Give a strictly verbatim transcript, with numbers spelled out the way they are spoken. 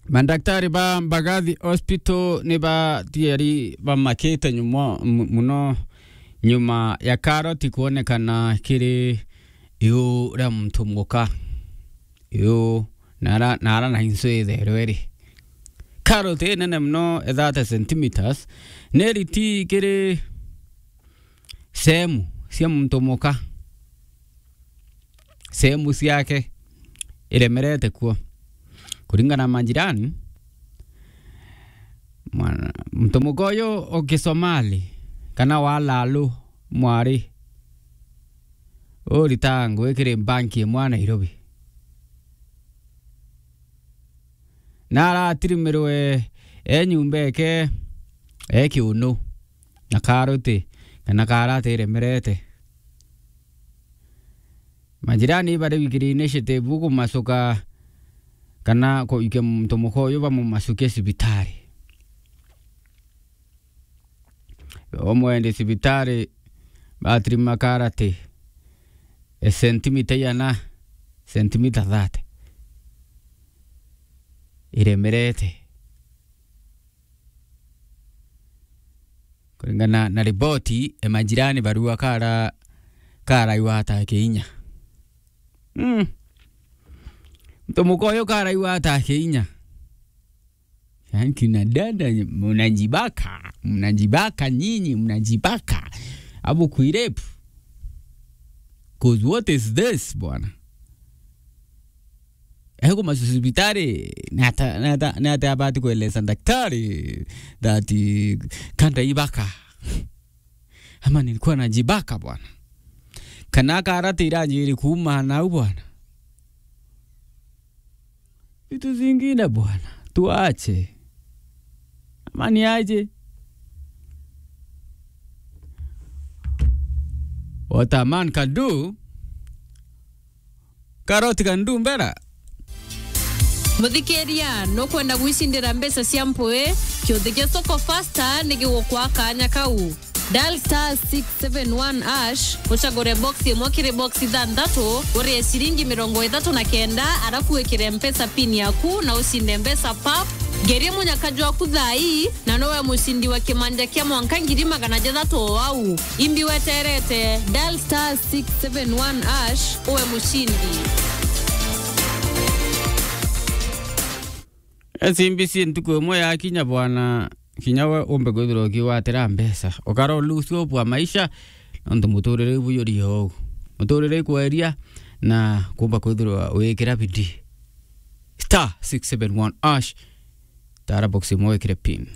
Mandaktari ba Mbagathi Hospital ni batiari bamakite nyuma, mu-, muno nyuma ya karoti kuonekana kiri iu ria muntu muka. Iu, nara, nara na insu itherwe ri. Karoti inene muno, thirty centimeters, ni riti kiri sehemu cia muntu muka. Sehemu ciake iremerete kuo. Kuringana na majirani, mwana, muntu muka uyu o Kisomali, kana wa Lalu, mwari, uritaga ngugi kiri banki imwe ya Nairobi. Na aratirimirwe e nyumba eke e kiunu na karoti, kana karati iremerete. Majirani bari wikiri initiative kumacuka kana kuikia muntu muka uyu bamumacukie cibitari. Omwendi cibitari, batiri makarati e sentimita iana, sentimita thirty. Iremerete. Kuringana na riboti, e majirani barua kara, karaigwa ata kiinya. Mm. Muntu muka uyu karaigwa ata kiinya. Yaani kina dada, mnajibaka, mnajibaka nyinyi, mnajibaka. Abu kuirepu. 'Cause what is this, bwana? Eko masubitari, nata, nata, nata abati kueleza daktari that, eh, kanda ibaka. Ama nilikuwa najibaka, bwana. Kana karati iranjiri kuuma nau, bwana. Vitu zingine, bwana, tuache. Ama ni aje? What a man can do, karoti can do better. Muthikiria, nukwenda gwicindira mbeca cia mpui? Kiuthi gia Soko Fasta ni gigukwa kanya kau. Dial star six seven one hash, ucagure box imwe kiri box ithanthatu, urie ciringi mirongo ithatu na kenda, arafu wikire Mpesa pin yaku na ucinde mbeca pap. Ngerie munyaka jwaku thaa ii, na nowe mucindi wa kimanja kia mwanka ngiri magana jathatu o au. Imbi weterete, dial star six seven one hash, uwe mucindi. S M B C ntuku imwe yakinya, bwana, kinya we umbe kwithirwa ukigwatira mbeca. Ukara lose hope wa maisha, nontu muturire ibuyuri ou. Muturire ikweria, na kumba kwithirwa wikira bidii. Star six seven one hash, tara box imwe wikire pin.